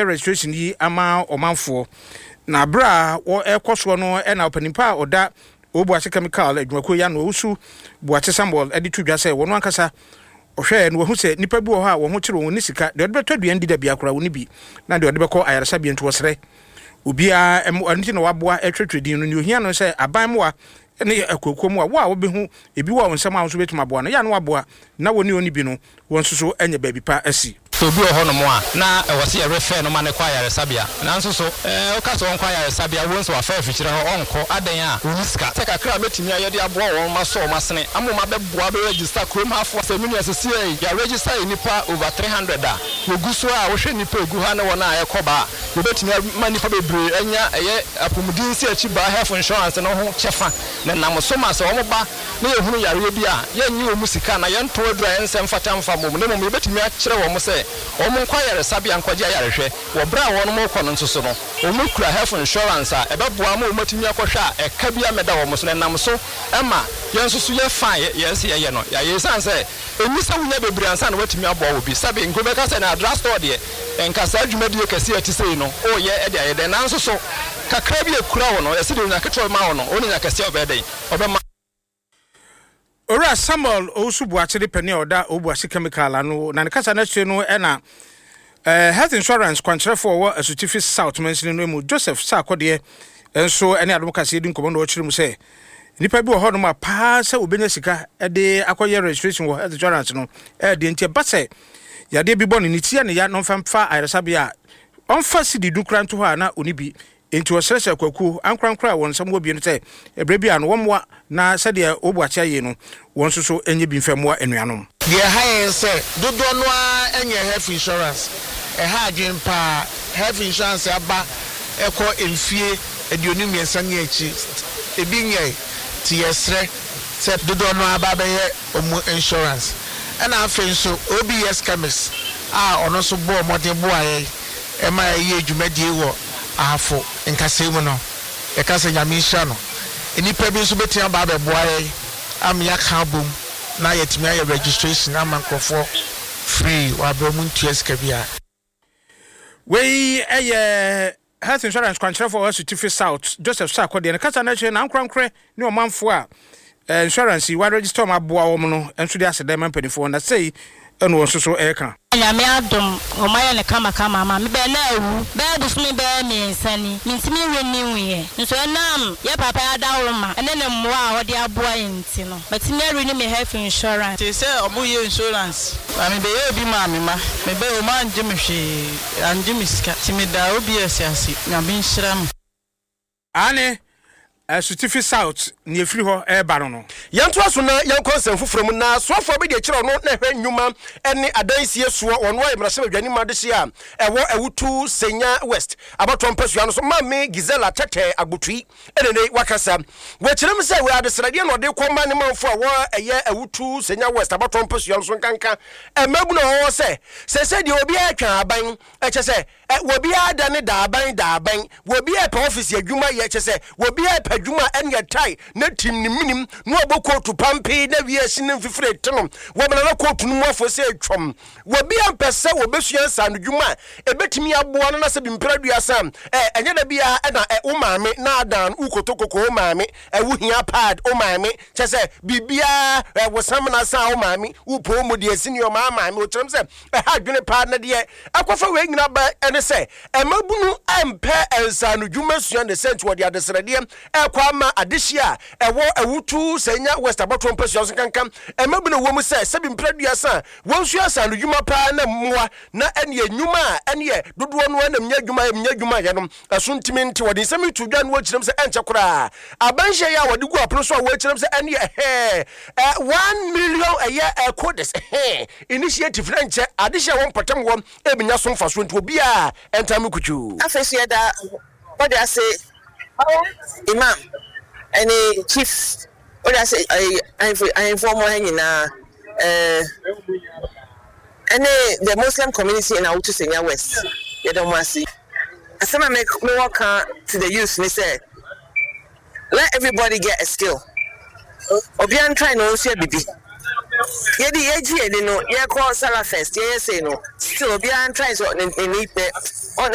Registration yi ama ɔmanfoɔ. Na berɛ a wɔrekɔ soɔ no na ɔpanin pa a ɔda Obuakye Chemical adwumakuo yi ano, Owusu Boakye Samuel de to dwa sɛ wɔn ankasa ɔhwɛɛ no wahu sɛ nnipa bi wɔ hɔ a wɔn ho kyere wɔn, wɔnni sika, deɛ ɔde bɛtɔ aduan di da biara koraa wɔnni bi, na deɛ ɔde bɛkɔ ayaresabea nti wɔsrɛ obiara mmoa, ɛno nti na waboa ɛtwerɛtwerɛ din no. Nea ohia no sɛ aban mmoa ne akuakuo mmoa, wo a wobɛhu ebi wɔ wo nsam a wo nso wobɛtumi aboa no, yɛ a na waboa na wɔne ɔnni bi no wɔn nso so anya baabi pa asi. Sɛ obi wɔ hɔnom a, na ɛwɔ sɛ yɛrefɛɛ no ma no kɔ ayaresabea. Nanso so woka sɛ ɔnkɔ ayaresabea a, wobɛhu sɛ wafa afikyire hɔ, ɔnkɔ. Adɛn a? Ɔnni sika. Sɛ kakra a mɛtumi ayɛ de aboa wɔn masɔ wɔn asene ama wɔn abɛboa abɛ register kurom hafoɔ. Sɛ me nua sesiei yɛ register nnipa over 300 a, wɔgu so a wohwɛ nnipa a ɛgu ha ne wɔn a ɛrekɔ ba a, yɛbɛtumi ama nnipa bebree anya ɛyɛ apomuden nsiakyi baa health insurance no ho kyɛfa na ɛnam so ma sɛ wɔn ba na yɛhunu yareɛ bi a, yɛnnye wɔn sika na yɛntɔn aduru a ɛnsɛ mfata mfa mmɔ mu, na mmom yɛbɛtumi akyerɛ wɔn sɛ wɔnkɔ ayaresabea nkɔgye ayarehwɛ. Wɔ berɛ a wɔrekɔ no nso so no, wɔkura health insurance a ɛbɛboa ama wɔatumi akɔhwɛ a ɛka biara mmɛda wɔn so, na ɛnam so ma yɛn nso so yɛ fa a yɛn sɛ yɛyɛ no, yɛayɛ. Ɛsiane sɛ ɛnni sɛ wonya bebree ansa na woatumi aboa obi. Sɛbe nka wobɛka sɛ na drugstore deɛ, nka saa dwumadie kɛseɛ a ɛte sei no, woreyɛ de ayɛ dɛn? Nanso so kakra bi a ɛkura wo no, yɛse deɛ onya ketewa bɛma wo no, wo na nya kɛseɛ a ɔbɛyɛ dɛn? Ɔbɛma. Owura Samuel Owusu Boakye ne panin a ɔda Obuasi Chemical ano, na ne kasa no akyire no na eh, Health Insurance kwankyerɛfoɔ a ɔwɔ Asutifi South mansini no mu Joseph Sarkodie nso ne Adom Kaseɛ di nkɔmmɔ na ɔkyerɛ mu sɛ nnipa bi wɔ hɔnom a paa sɛ wɔbɛnya sika de akɔyɛ registration wɔ health insurance no ɛdeɛ nti ɛba sɛ yadeɛ bi bɔ no ne ti yɛ ne ya na ɔmfa mfa ayaresabea a ɔmfa sidi du kora nto hɔ a na ɔni bi. Enti wɔsrɛsrɛɛ akuakuo ankorankoro a wɔn nsam wɔ bi no sɛ berɛ biara no wɔmmoa na sɛdeɛ wɔbu akyea yei no, wɔn nso so nyɛ bi mfa mmoa anuanom. Deɛ ɛha yɛn sɛ dodoɔ no ara nyɛ health insurance. Ɛha adwene pa ara. Health insurance aba kɔ mfie 23 ne akyi, ebi nyɛe. Nti yɛsrɛ sɛ dodoɔ no ara ba abɛyɛ wɔn insurance. Ɛna afei nso OBS Chemist a ɔno nso bɔɔ mmɔden boaa yɛn ma yɛyɛɛ dwumadie wɔ Ahafo nkasɛɛ mu no, yɛka sɛ Nyame nhyira no. Nnipa bi nso bɛtumi aba abɛboa yɛn ama yɛaka abom na yɛatumi ayɛ registration ama nkorɔfoɔ free wɔ aberɛ ɔmo ntua sika biara. Wei yɛ Health Insurance kwankyerɛfoɔ a ɔwɔ Asutifi South, Joseph Sarko deɛ. Ne kasa no akyire no, ankorankorɛ ne ɔmanfoɔ a insurance yi wɔaregister wɔn aboa wɔn no nso de aseda ma mpanimfoɔ, na sei na wɔn nso so reka. Nyame adom ɔmo ayɛ no kama kama ama me bɛ na awu bɛyɛ bosome bɛyɛ miensa ni mentumi nwe ne nwuiɛ nso ɛnam yɛ papa yi adaworoma ɛne ne mmoa a ɔde aboa yɛn nti no matumi a renew me health insurance. Tee sɛ ɔmo yɛ insurance ma me bɛyɛɛ bi maa me ma me bɛyɛ ɔmo angye me hwee angye me sika nti me daa OBS ase Nyame nhyira mo. Aane, Asutifi South, nea ɛfiri hɔ reba no no. Yɛntoa so na yɛnkɔ nsɛm foforɔ mu. Na soafoɔ abɛdi akyire a ɔno na ɛhwɛ nnwuma ne adansie soɔ, ɔno ayɛ mmarahyɛbadwani ma adehyeɛ a ɛwɔ Awutu Senya West abatoɔ mpasua no so, Maame Gisela Tetteh Agbotui ɛna nnɛ yi wakasa. Wakyerɛ mu sɛ wei adesrɛdeɛ na ɔde rekɔma ne manfoɔ a ɛwɔ ɛyɛ Awutu Senya West abatoɔ mpasua no so nkanka mmabunu a wɔwɔ sɛ seesei deɛ obiara retwa aban, ɛkyɛ sɛ Ɛ, obiara da ne daaban daaban. Obiara pɛ ɔfese adwuma yɛ, kyerɛ sɛ, obiara pɛ adwuma a ɛneɛ tae na tim ne menem na wabɔ kootu pampee na wiase no mfifire rete no. Wɔmena na kootu no mu afo sɛ twam. Obiara mpɛ sɛ wɔbɛsua nsaanodwuma a ɛbɛtumi aboa no na sɛ bi mpere aduasa a, ɛ, ɛnyɛ da biara na ɛ, wo maame na adan wo kotokoko, wo maame, ɛ, wo hia pad, wo maame, kyerɛ sɛ, biribiara, ɛ, wo samina sa wo maame, wo poo mu deɛ si nneɛma maame. Wɔkyerɛm sɛ, Ɛha adwene paa, na deɛ ɛkɔfa wei nyina ba ne sɛ, mmabunu mpɛ nsaanodwuma sua ne sɛ nti wɔde adesrɛdeɛ ɛrekɔ ama adehyeɛ a ɛwɔ Awutu Sanya West abɔtoɔ mpasua so nkanka mmabunu wɔ mu sɛ sɛbi mprɛ aduasa a wɔnsua nsaanodwuma paa na mmoa na ɛneɛ nnwuma a ɛneɛ dodoɔ no ara na mnya adwuma yɛ mnya adwuma yɛ no ɛso ntumi nte. Wɔde nsɛm yi to dwa na wɔkyerɛm sɛ ɛnkyɛ koraa aban nhyehyɛeɛ a wɔde gu apono so a wɔkyerɛm sɛ ɛneɛ ɛhɛɛ 1 million ɛyɛ codes ɛhɛɛ initiative na nkyɛ adehyeɛ a ɛwɔ mpɔtam hɔ ɛbɛnya so mfasoɔ nti obiara ɛntaa mu kutwuu. Afei nso yɛda Bɔdwase Imam ɛne Chief Bɔdwase ɛyi ahemfo ahemfo ɔmo ha nyinaa ɛɛ ɛne the Muslim community in Awutu Senya West yɛda ɔmo ase. Asɛm a me mewɔ ka to the youth ne sɛ let everybody get a skill. Obiara ntry na onsua bibi. Yɛde yɛgye yɛn ani no yɛkɔ Salah fest yɛyɛ sei no still obiara ntry sɛ ne ne ne.